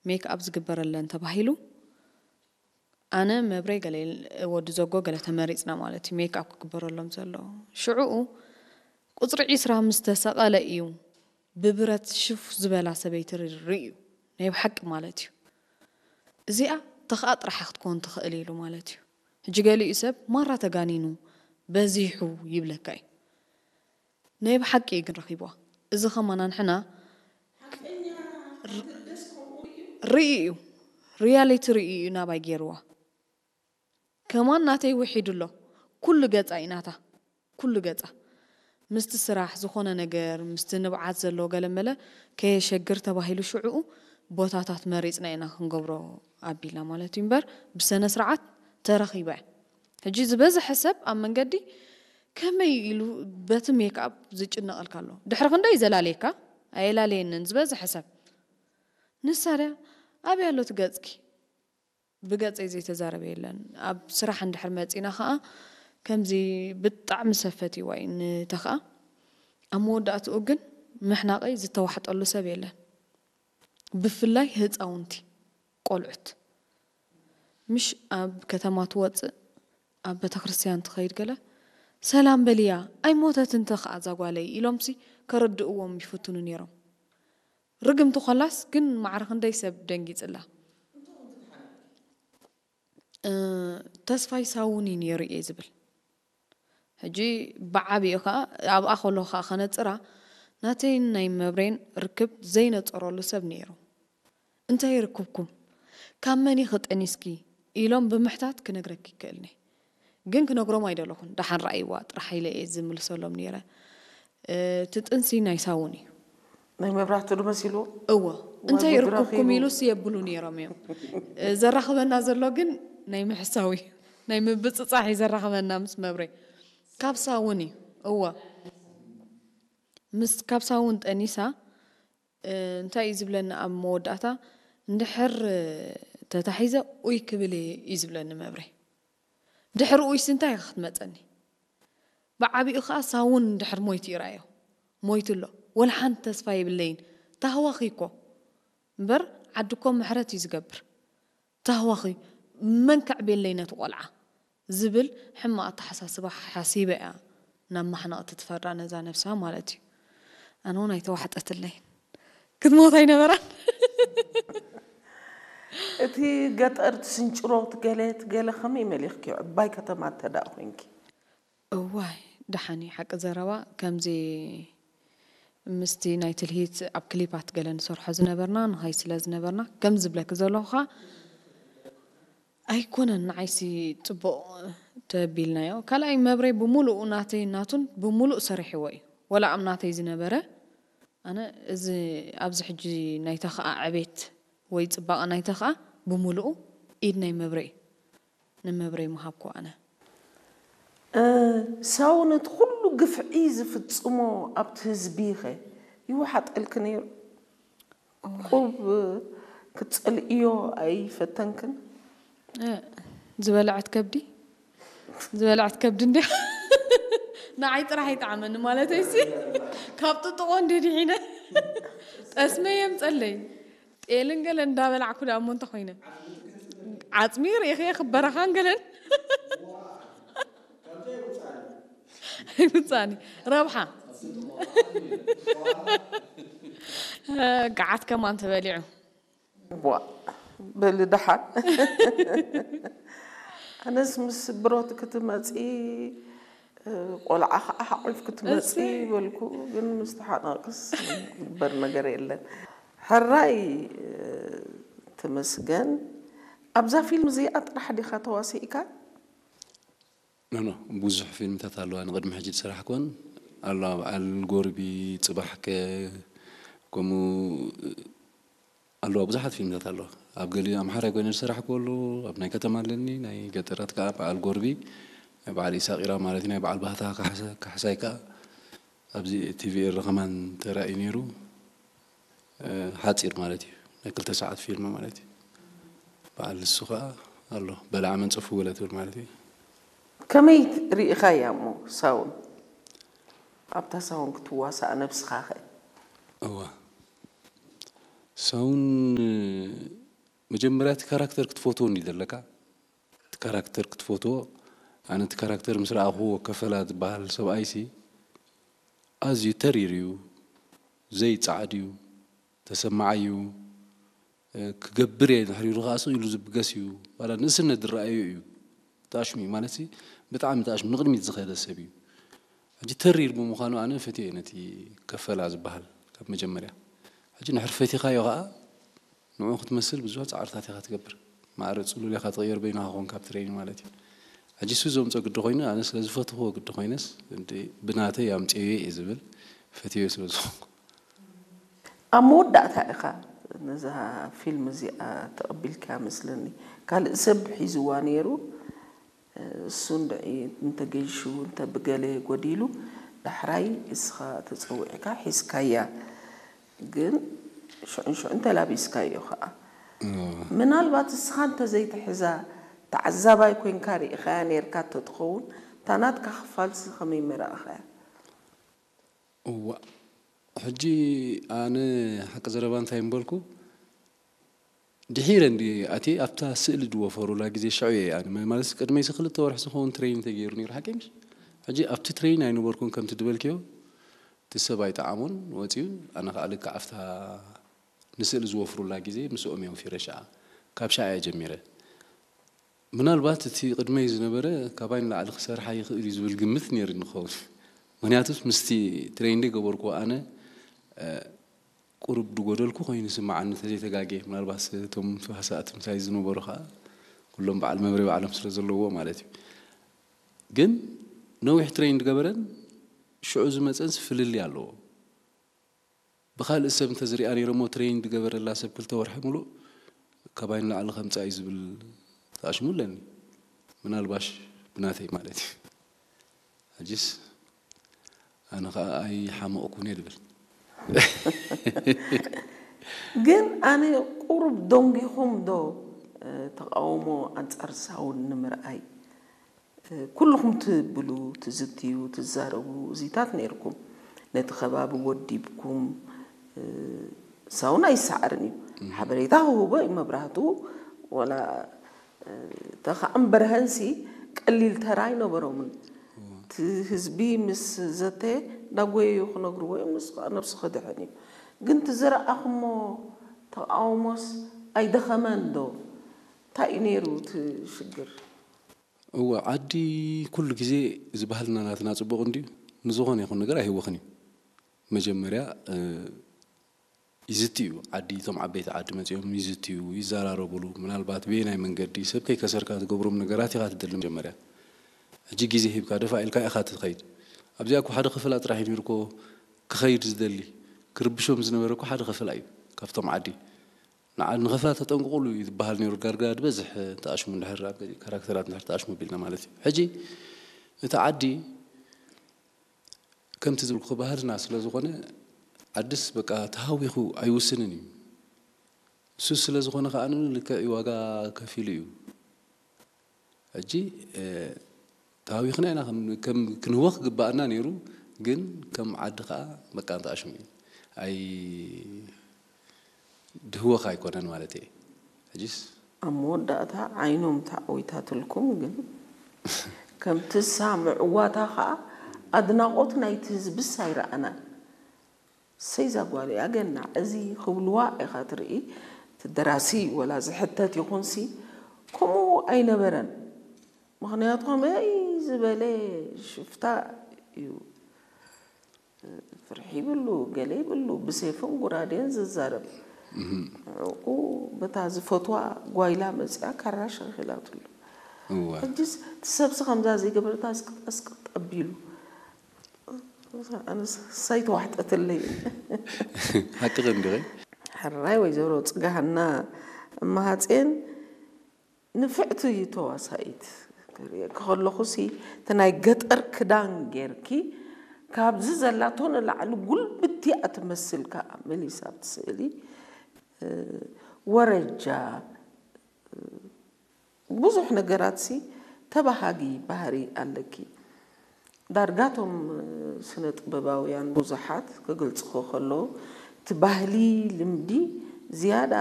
ሜክ ኣፕ ዝግበረለን ተባሂሉ፣ ኣነ፣ መብሬ፣ ገለ ወዲ ዘጎ ገለ ተመሪጽና ማለት እዩ፣ ሜክ ኣፕ ክግበረሎም ዘሎ። ሽዕኡ ቁጽሪ ዒስራ ምስ ተሰቐለ እዩ ብብረት ሽፍ ዝበላ ሰበይቲ ርእዩ፣ ናይ ብሓቂ ማለት እዩ። እዚኣ ተኽኣ ጥራሕ ክትከውን ትኽእል ኢሉ ማለት እዩ። ሕጂ ገሊኡ ሰብ ማራ ተጋኒኑ፣ በዚሑ ይብለካ እዩ። ናይ ብሓቂ እዩ ግን ረኺብዋ። እዚ ኸማን ኣንሕና ርኢ እዩ፣ ሪያሊቲ ርኢ እዩ ናባይ ገይርዋ። ከማን ናተይ ውሒዱ ኣሎ። ኩሉ ገጻ እዩ ናታ፣ ኩሉ ገጻ። ምስቲ ስራሕ ዝኾነ ነገር፣ ምስቲ ንብዓት ዘሎ ገለመለ ከየሸግር ተባሂሉ ሽዕኡ ቦታታት መሪጽና ኢና ክንገብሮ ኣቢልና ማለት እዩ እምበር ብሰነ ስርዓት ተረኺባ እያ። ሕጂ ዝበዝሐ ሰብ ኣብ መንገዲ ከመይ ኢሉ በቲ ሜክኣፕ ዝጭነቐልካ ኣሎ። ድሕሪ ክንደይ ዘላለየካ? ኣየላለየንን ዝበዝሐ ሰብ። ንሳ ድያ ኣበይ ኣሎ እቲ ገጽኪ? ብገጸይ ዘይተዛረበ የለን። ኣብ ስራሕ እንድሕር መጺና ኸኣ ከምዚ ብጣዕሚ ሰብ ፈትይዋ እዩ ንተኽኣ። ኣብ መወዳእትኡ ግን ምሕናቐይ ዝተዋሕጠሉ ሰብ የለን። ብፍላይ ህጻውንቲ ቆልዑት። ምሽ ኣብ ከተማ ትወጽእ፣ ኣብ ቤተክርስትያን ትኸይድ ገለ፣ "ሰላም በልያ፣ ኣይሞተትን ተኽኣ እዛ ጓለይ" ኢሎምሲ ከረድእዎም ይፍትኑ ነይሮም። ርግምቲ ኮላስ ግን ማዕረ ክንደይ ሰብ ደንጊጽላ። እ፣ ተስፋይ ሳውን እዩ ነይሩ እየ ዝብል። ሕጂ ብዓቢኡ ከኣ ኣብኣ ከሎ ከኣ ከነጽራ ናተይን ናይ መብሬን ርክብ ዘይነጸረሉ ሰብ ነይሩ። "እንታይ ርክብኩም? ካብ መን ኢኺ ጠኒስኪ?" ኢሎም ብምሕታት ክነግረኪ ይክእልኒ። ግን ክነግሮም ኣይደለኹን። ደሓን ረኣይዋ ጥራሕ ኢለ እየ ዝምልሰሎም ነይረ። እቲ ጥንሲ ናይ ሳውን እዩ። ናይ መብራህቱ ዶ መሲልዎ? እወ። ዋይ እንታይ ጉድ ርክብኩም ረኺቡ። ኢሉስ የብሉ ነይሮም እዮም። ዘራኽበና ዘሎ ግን ናይ ምሕሳው እዩ። ናይ ምብጽጻሕ እዩ ዘራኽበና ምስ መብሬ። ካብ ሳውን እዩ። እወ። ምስ ካብ ሳውን ጠኒሳ፣ እ፣ እንታይ እዩ ዝብለኒ ኣብ መወዳእታ፣ "እንድሕር፣ እ፣ ተታሒዘ ኡይ ክብል እየ" እዩ ዝብለኒ መብሬ። ድሕሪ ኡይስ እንታይ ኢኻ ክትመጸኒ? ብዓቢኡ ኸኣ ሳውን እንድሕር ሞይቱ ይርኣዮ። ሞይቱ ኣሎ። ወላ ሓንቲ ተስፋ የብለይን። ታህዋኺ እኮ። እምበር ዓዲ እኮ ምሕረት እዩ ዝገብር። ታህዋኺ መን ከዕብየለይ ነቲ ቆልዓ? ዝብል ሕማቕ ኣተሓሳስባ ሓሲበ እያ ናብ ማሕነቕቲ ትፈርዳ ነዛ ነብሳ ማለት እዩ። ኣነ እውን ኣይተዋሕጠትለይን። ክትሞት ኣይነበራን። እቲ ገጠር ትስንጭሮ ትገለ ትገለ ከመይ መሊኽክዮ? ዕባይ ከተማ እንተ ደኣ ኮይንኪ? እዋይ፣ ደሓን እዩ። ሓቂ ዘረባ፣ ከምዚ ምስቲ ናይ ትልሂት ኣብ ክሊፓት ገለ ንሰርሖ ዝነበርና፣ ንኸይ ስለ ዝነበርና፣ ከም ዝብለኪ ዘለኹ ኸኣ ኣይኮነን፣ ንዓይሲ ጽቡቕ ተቢልናዮ። ካልኣይ መብሬ ብምሉኡ ናተይ ናቱን ብምሉእ ሰሪሕዎ እዩ። ወላ ኣብ ናተይ ዝነበረ፣ ኣነ እዚ ኣብዚ ሕጂ ናይ ተኽኣ ዕቤት ወይ ጽባቐ ናይ ተኽኣ ብምሉኡ ኢድ ናይ መብሬ እዩ። ንመብሬ ምሃብኩ ኣነ። እ፣ ሳው ነቲ ኩሉ ግፍዒ ዝፍጽሞ ኣብቲ ህዝቢኸ ይወሓጠልኪ ነይሩ? እዋይ። ቁብ ክትጸልእዮ ኣይፈተንክን? እ፣ ዝበልዐት ከብዲ? ዝበልዐት ከብዲ እንድያ። ንዓይ ጥራሕ ይጥዓመኒ ማለተይሲ፣ ካብ ጥጥቖ እንድየ ድሒነ። ጠስመ የምጸለይ። ጤልን ገለን እንዳበላዕኩ ደኣ እሞ እንተ ኮይነ። ዓጽሚ ርኢኽየ ክበረኻን ገለን። ኣይውጻኒ። ረብሓ። ገዓት ከማን ተበሊዑ። ዋ፣ በሊ ደሓን። ኣነስ ምስ ብሮት ክትመጺ፣ ቆልዓ ኸዓ ሓቑፍ ክትመጺ እሰይ። በልኩ፣ ግን ምስ ተሓነቕክስ ዝግበር ነገር የለን። ሕራይ፣ ተመስገን። ኣብዛ ፊልም እዚኣ ጥራሕ ዲኻ ተዋሲእካ? ኖ፣ ኖ፣ ብዙሕ ፊልምታት ኣለዋ ንቕድሚ ሕጂ ዝሰራሕኩወን ኣለዋ። በዓል ጎርቢ፣ ጽባሕከ፣ ከምኡ ኣለዋ፣ ብዙሓት ፊልምታት ኣለዋ። ኣብ ገሊኡ ኣምሓራይ ኮይነ ዝሰራሕኩዎ ኣሎ፣ ኣብ ናይ ከተማ ኣለኒ፣ ናይ ገጠራት ከኣ በዓል ጎርቢ፣ ናይ በዓል ኢሳቕ ኢራ ማለት እዩ፣ ናይ በዓል ባህታ ካሕሳ-፣ ካሕሳይ ከኣ ኣብዚ ቲቪ ኤረ ከማን ተራእዩ ነይሩ። እ፣ ሓጺር ማለት እዩ። ናይ ክልተ ሰዓት ፊልም ማለት እዩ። በዓል ንሱ ኸኣ ኣሎ። በላዕ መንጸፉ ገለ ትብል ማለት እዩ። ከመይ ርኢኻያ እሞ ሳውን? ኣብታ ሳውን ክትዋሳእ ነብስኻ ኸ? እዋ። ሳውን፣ እ፣ መጀመርያ እቲ ካራክተር ክትፈትዎ እንዲ ዘለካ፣ እቲ ካራክተር ክትፈትዎ። ኣነ እቲ ካራክተር ምስ ረኣኽዎ፣ ከፈላ ዝበሃል ሰብኣይሲ ኣዝዩ ተሪር እዩ፣ ዘይጸዓድ እዩ፣ ተሰማዓይ እዩ። ክገብር እየ ድሕሪኡ ከዓ ስቕ ኢሉ ዝብገስ እዩ። ዋላ ንእስነት ዝረኣዮ እዩ። ተኣሽሙ እዩ ማለት ሲ፣ ብጣዕሚ ተኣሽሙ፣ ንቕድሚት ዝኸደ ሰብ እዩ። ሕጂ ተሪር ብምዃኑ ኣነ ፈትየ ነቲ ከፈላ ዝበሃል ካብ መጀመርያ። ሕጂ ንሕር ፈቲኻዮ ከዓ ንዕኡ ክትመስል ብዙሕ ጻዕርታት ኢኻ ትገብር። ማዕረ ጽሉል ኢኻ ትቕየር በይንኻ ኮንካ ኣብ ትሬኒንግ ማለት እዩ። ሕጂ እሱ ዘምጾ ግዲ ኮይኑ፣ ኣነ ስለ ዝፈትኽዎ ግዲ ኮይነስ፣ እንዲ ብናተይ ኣምጽኤዮ እየ ዝብል፣ ፈትዮ ስለ ዝኾንኩ። ኣብ መወዳእታ ኢኻ ነዛ ፊልም እዚኣ ተቐቢልካ መስለኒ። ካልእ ሰብ ሒዝዋ ነይሩ፣ እሱ እንድዒ እንተገይሹ፣ እንተ ብገለ ጎዲሉ፣ ዳሕራይ እስኻ ተጸዊዕካ ሒዝካያ። ግን ሽዑን ሽዑን ተላቢስካዮ ኸኣ። ምናልባት እስኻ እንተዘይትሕዛ፣ ተዓዛባይ ኮይንካ ርኢኻያ ነይርካ እንተትኸውን፣ እታ ናትካ ክፋልሲ ከመይ ምረኣኻያ? እዋ፣ ሕጂ ኣነ ሓቂ ዘረባ እንታይ ምበልኩ፣ ድሒረ እንዲ ኣትየ ኣብታ ስእሊ ዝወፈሩላ ግዜ ሽዑ እየ ኣነ፣ ማለትስ ቅድመይሲ ክልተ ወርሒ ዝኸውን ትሬኒንግ ተገይሩ ነይሩ፣ ሓቀይ ምሽ? ሕጂ ኣብቲ ትሬኒንግ ኣይነበርኩን፣ ከምቲ ዝበልክዮ፣ እቲ ሰብ ኣይጠዓሞን ወጺኡ፣ ኣነ ከኣ ልክዕ ኣብታ ንስእሊ ዝወፍሩላ ግዜ ምስኦም እዮም ወፊረ ሽዓ። ካብ ሽዓ እየ ጀሚረ። ምናልባት እቲ ቅድመይ ዝነበረ ካባይ ንላዕሊ ክሰርሓ ይኽእል እዩ ዝብል ግምት ነይሩኒ ክኸውን። ምኽንያቱስ ምስቲ ትሬኒንግ ዝገበርኩዎ ኣነ፣ እ፣ ቁሩብ ዝጎደልኩ ኮይኑ ይስምዓኒ እንተዘይተጋግየ። ምናልባት እቶም ተዋሳእቲ ምሳይ ዝነበሩ ኸኣ ኩሎም በዓል መብረይ ባዕሎም ስለ ዘለውዎ ማለት እዩ። ግን ነዊሕ ትሬኒንግ ዝገበረን ሽዑ ዝመጸንስ ፍልልይ ኣለዎ። ብኻልእ ሰብ እንተዝሪኣ ነይረ እሞ ትሬኒንግ ዝገበረላ ሰብ ክልተ ወርሒ ሙሉእ ካባይ ንላዕሊ ከምጽኣ እዩ ዝብል ተኣሽሙ ኣለኒ። ምናልባሽ ብናተይ ማለት እዩ። ሕጂስ ኣነ ኸኣ ኣይሓመቕኩን እየ ዝብል። ግን ኣነ ቁሩብ ደንጊኹም ዶ፣ እ፣ ተቓውሞ ኣንጻር ሳውን ንምርኣይ? እ፣ ኩልኹም ትብሉ፣ ትዝትዩ፣ ትዛረቡ እዚታት ነይርኩም። ነቲ ከባቢ ወዲብኩም፣ እ፣ ሳውን ኣይሰዓርን እዩ። ሓበሬታ ክህቦ እዩ፣ መብራህቱ ወላ፣ እ፣ ተኻዕም በርሀንሲ ቀሊል ተራ ኣይነበሮምን። እቲ ህዝቢ ምስ ዘተየ እንዳጎየዩ ክነግርዎ እዮም፣ ንሱ ከዓ ነብሱ ክድሕን እዩ። ግን እቲ ዝረኣኹሞ ተቓውሞስ ኣይደኸመን ዶ? እንታይ እዩ ነይሩ እቲ ሽግር? እወ፣ ዓዲ ኩሉ ግዜ እዚ ባህልና ናትና ጽቡቕ እንድዩ፣ ንዝኾነ ይኹን ነገር ኣይህወኽን እዩ። መጀመርያ፣ እ፣ ይዝትዩ፣ ዓዲ፣ እቶም ዓበይቲ ዓዲ መጺኦም ይዝትዩ፣ ይዘራረቡሉ። ምናልባት በየናይ መንገዲ ሰብ ከይከሰርካ ትገብሮም ነገራት ኢኻ ትደሊ መጀመርያ። ሕጂ ግዜ ሂብካ ደፋ ኢልካ ኢኻ ትኸይድ። ኣብዚኣ እኮ ሓደ ክፍላ ጥራሕ እዩ ነይሩ እኮ ክኸይድ ዝደሊ፣ ክርብሾም ዝነበረ እኮ ሓደ ክፍላ እዩ ካብቶም ዓዲ። ንዓ-፣ ንኸፍላ ተጠንቅቑሉ እዩ ዝበሃል ነይሩ። ዳርጋ ዝበዝሕ ተኣሽሙ እንድሕር ኣብ ገሊኡ ካራክተራት እንድሕር ተኣሽሙ ቢልና ማለት እዩ። ሕጂ እቲ ዓዲ ከምቲ ዝብልኩ ባህልና ስለ ዝኾነ ዓድስ በቃ ተሃዊኹ ኣይውስንን እዩ። እሱ ስለ ዝኾነ ከኣ ልክዕ እዩ ዋጋ ከፊሉ እዩ። ሕጂ፣ እ፣ ተሃዊኽና ኢና ከም፣ ከም ክንህወኽ ግባኣና ነይሩ፣ ግን ከም ዓዲ ከኣ በቃ እንተኣሽሙ እዩ። ኣይ ድህወኽ ኣይኮነን ማለት እየ። ሕጂስ ኣብ መወዳእታ ዓይኖም ተዓዊታትልኩም፣ ግን ከምቲ እሳ ምዕዋታ ኸኣ ኣድናቖት ናይቲ ህዝብስ ኣይረኣናን። ሰይ እዛ ጓል እያ ገናዕ፣ እዚ ክብልዋ ኢኻ ትርኢ። እቲ ደራሲ ወላ ዝሕተት ይኹንሲ ከምኡ ኣይነበረን። ምኽንያቱ ከመይ ዝበለ ሽፍታ እዩ። ፍርሒ ይብሉ፣ ገለ ይብሉ፣ ብሴፍን ጉራዴን ዝዛረብ። ንዕኡ በታ ዝፈትዋ ጓይላ መጺኣ ካራ ሸኺላትሉ። እወ። ሕጂስ እቲ ሰብሲ ከምዛ ዘይገበረታ ስቅጣስቅጥ ኣቢሉ። ኣነስ ሳይተዋሕጠትለይ። ሓቅኺ እንዲኺ። ሕራይ ወይዘሮ ጽጋሃና እመሃጼን ንፍዕቲ እዩ ተዋሳኢት። ክርእየኪ ከለኹሲ እቲ ናይ ገጠር ክዳን ጌርኪ ካብዚ ዘላቶ ንላዕሊ ጉልብቲ እያ ትመስል ከኣ መሊሳ ኣብቲ ስእሊ። እ፣ ወረጃ፣ እ፣ ብዙሕ ነገራትሲ ተባሃጊ ባህሪ ኣለኪ። ዳርጋ እቶም ስነ ጥበባውያን ብዙሓት ክገልጽዎ ከለዉ እቲ ባህሊ ልምዲ ዝያዳ